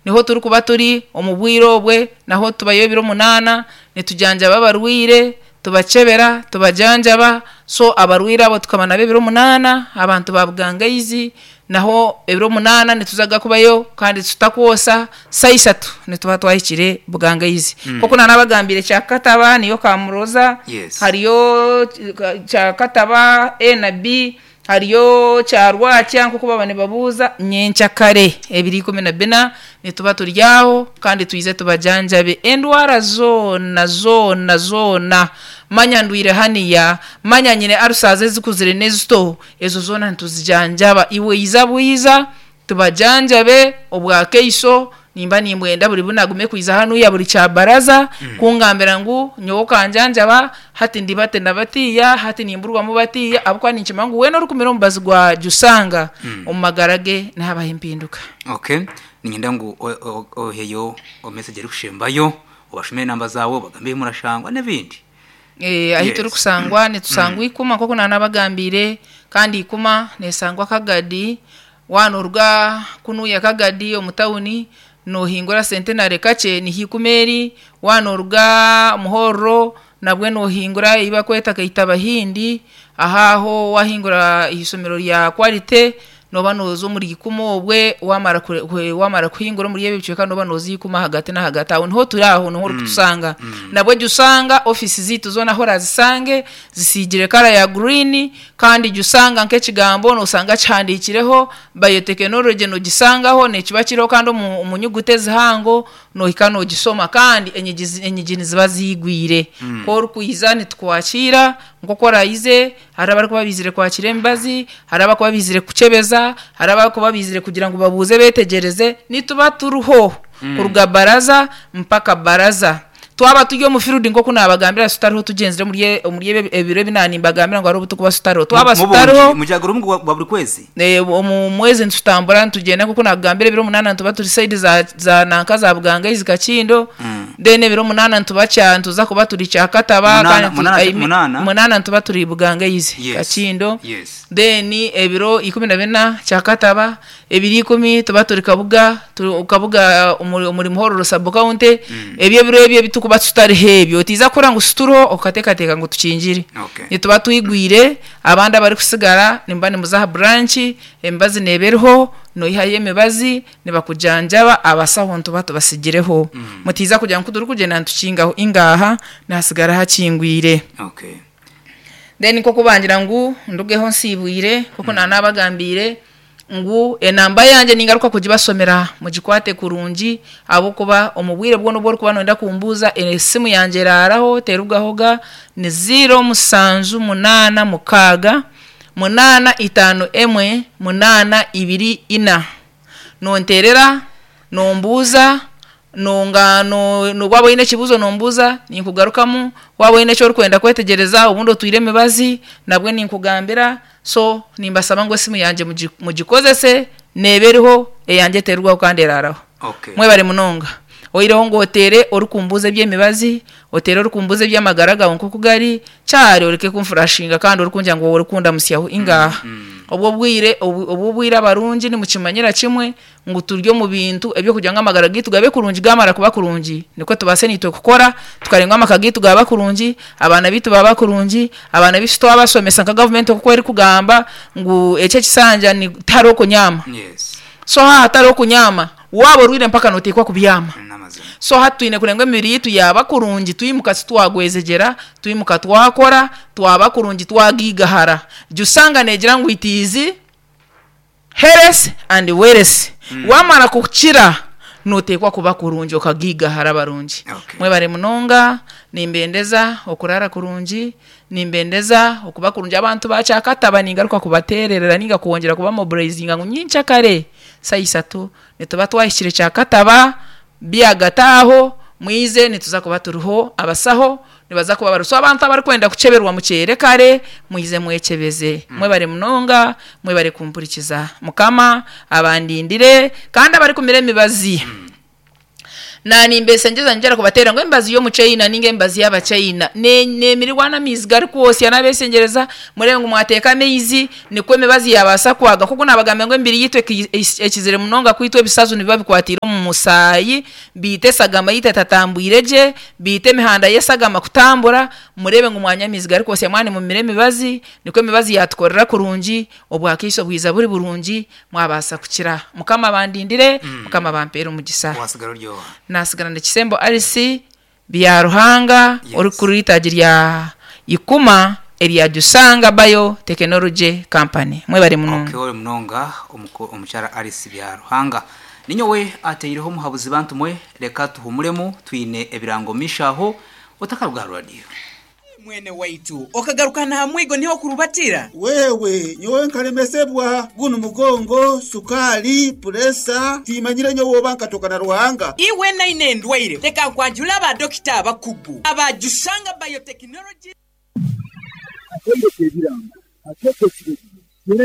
Niho turikuba turi omu bwire obwe, naho tubayo ebiro munaana nitujanjaba abarwaire, tubakyebera, tubajanjaba, so abarwaire abo tukaba nabo ebiro munaana, abantu ba Bugangaizi naho ebiro munaana nituzaga kubayo kandi tutakwosa, saaha ishatu nituba twahikire Bugangaizi. Nk'oku naanabagambiire Kyakataba niyo Kamuroza, hariyo Kyakataba A na B, Hariyo Kyarwakya nk'oku baba nibabuuza, nyenkyakare ebiro 14 nituba turi aho kandi twije tubajanjabe endwara zoona zoona zoona. Manya ndwaire haniya, manya nyine ulcers ezikuzire n'ezito, ezo zoona nituzijanjaba. Iwe iza bwiza Tubajanjabe obwa kaiso, nimba nimbwenda buri bu nagume kwiza hanuya buri kyabaraza kungambira ngu nyowe okanjanjaba hati ndi bati na batiya, hati nimburwamu batiya ahabw'okuba ninkimanya ngu weena orikumira omubazi gwa Jusanga omu magara ge nihabaho empinduka. Okay, niinyenda ngu oheyo message erikushembayo, obashomere enamba zaawe, obagambe ahu murashangwa n'ebindi. Ahu turikusangwa nitusangwa Ikuma nk'oku naanabagambiire kandi Ikuma neeshangwa Kagadi. Waaba nooruga kunuya Kagadi omu tawuni noohingura Centenary kakye niho Ikuma eri, waaba nooruga Muhorro nabwe noohingura ei barikweta Kaitabahindi, aho aho waahingura aha ishomero rya Quality nooba nooza omuri Ikuma obwe waamara waamara kuhingura omuri ebyo bicweka nooba nooza Ikuma ahagati n'ahagati aho niho turi aho niho orikutushanga. Nabwe jya oshanga ofiisi zaitu zoona ahu orazisange zisiigire kara ya guriini Kandi jya usanga nk'ekigambo noosanga kihandiikireho biotechnology noogisangaho neekiba kiriho kandi omu omu nyuguta ezihango noohika noogishoma kandi enyigi enyigi niziba ziigwire. Ku orikwija nitukwakiira nk'oku oraize, hariho abarikuba baizire kwakira emibazi, hariho abarikuba baizire kukyebeza, hariho abarikuba baizire kugira ngu babuuze beetegyereze, nituba turiho kuruga baraza mpaka baraza. Twaba turi omu field nk'oku naabagambira tutariho tugyenzire omuri e- omuri ebi ebiro ebi naanimbagambira ngu hariho obu turikuba tutariho. Twaba Mu- tutariho Mubungi mugyagura omu gwa buri kwezi? Eh, omu mwezi nitutambura nitugyenda nk'oku naakugambira ebiro munaana nituba turi side za za nanka za Bugangaizi Kakindo then ebiro munaana nituba kya nituza kuba turi Kyakataba Munaana- kandi tu- munaana- I mean, munaana? munaana nituba turi Bugangaizi Yes. Kakindo Yes. then ebiro 14 Kyakataba Ebiro ikumi tuba turi Kabuga, turi Kabuga omuri omuri Muhororo sub county, ebyo ebiro ebyo ebi turikuba tutariho ebyo otiiza kuhurira ngu situriho okateekateeka ngu tukingire. Okay. Nituba twigwire, abandi abarikusigara nimuba nimuza aha branch, emibazi neeba eriho, noihayo emibazi, nibakujanjaba, abasaho nituba tubasigireho. Mutiiza kugira ngu ku turikugyenda nitukingaho, ingaaha, nihasigara hakingwire. Okay. Then nk'oku bangira ngu ndugeho nsiibwire, nk'oku naanabagambiire, Ngu enamba yangye ningaruka kugibasomera mugikwate kurungi ahabw'okuba omu bwire bwona obu orikuba noyenda kumbuuza esimu yangye eraaraho terugahoga ni ziiro mushanju munaana mukaaga munaana itaano emwe munaana ibiri ina. Nonteerera, nombuuza Nonga no no waaba oine ekibuuzo nombuuza, ninkugarukamu, waaba oine eki orikwenda kwetegyereza obundi otwire emibazi, nabwe ninkugambira, so nimbasaba ngu esimu yangye mugi mugikozese, neeba eriho, eyangye eterugwaho kandi eraaraho. Okay. Mwebare munonga. Oihireho ngu oteere orikumbuuza eby'emibazi, oteere orikumbuuza eby'amagara gaawe nk'oku gari, Kyari oreke kunfurashinga kandi orikungira ngu orikundamutsyaho. Ingaaha. Obwo obwire obwo obwire abarungi nimukimanyira kimwe ngu turi omu bintu eby'okugira ngu amagara gaitu gabe kurungi, gaamara kuba kurungi nikwo tubaase naitwe kukora tukareeba ngu amaka gaitu gaaba kurungi, abaana baitu baaba kurungi, abaana baitu twabashomesa nka gavumenti oku erikugamba ngu eki ekisanja tihariho kunyaama. So haaba hatariho kunyaama, waaba orwaire mpaka nooteekwa kubyama. So hati twine kureeba ngu emibiri yaitu yaaba kurungi twimuka titwagwejegyera, twimuka twakora, twaba kurungi twagaigahara. Jusanga neegira ngu it is. Health and wealth Wamara kukira noteekwa kuba kurungi okagiigahara abarungi. Mwebare munonga, nimbendeza okuraara kurungi, nimbendeza okuba kurungi. Abantu ba Kyakataba ningaruka kubateererera ninga kwongyera kuba mobilizinga ngu nyenkyakare saaha isatu nituba twahikire Kyakataba, Byagati aho, mwize nituza kuba turiho, abasaho nibaza kuba bariho. So abantu abarikwenda kukyeberwa mukyere kare, mwize mwekyebeze. Mwebare munonga, mwebare kumpurikiza. Mukama abandindire kandi abarikumira emibazi naanimbesengyeza ningyenda kubateerera ngu emibazi y'omuchaina ninga emibazi y'abachaina neemirirwa n'amaizi garikwosya. Nabesengyereza mureebe ngu mwateeka amaizi Nikwo emibazi yaabaasa kwaga. Nk'oku naabagambira ngu emibiri yaitu ekizire munonga kwitwa ebisazu nibiba bikwatiire omu. omu musaayi, biita esagama yaitu etatambwire gye, biita emihanda y'esagama kutambura, mureebe ngu mwanywa amaizi garikwosya mwaba nimumira emibazi, nikwo emibazi yaatukorera kurungi, obwakaiso bwija buri burungi, mwabaasa kukira. Mukama abandindire, Mukama abampeere omugisa. Wasigara ori oha? Naasigara ndi Kisembo Alice Byaruhanga Yes. orikukurira eitaagi rya Ikuma erya Jusanga Bio Technology Company. Mwebare munonga. Okay, ori munonga omuko- omukyara Alice Byaruhanga. Ninyowe ateireho omuhabuzi bantu mwe, reka tuhumuremu twine ebirango omumaisho aho, otakaruga aha rwadiyo. Mwene waitu, okagaruka n'aha mwigo niho okurubatira? Wewe, nyowe nkalemesebwa gunu mugongo, sukaali, puresa, timanyire nyowe oba nkatoka na Ruhanga. Iwe naine endwaire, leka nkwanjule aba dokita abakugu aba Jusanga Biotechnology. Akaire k'ebirango akeekyo ekiro.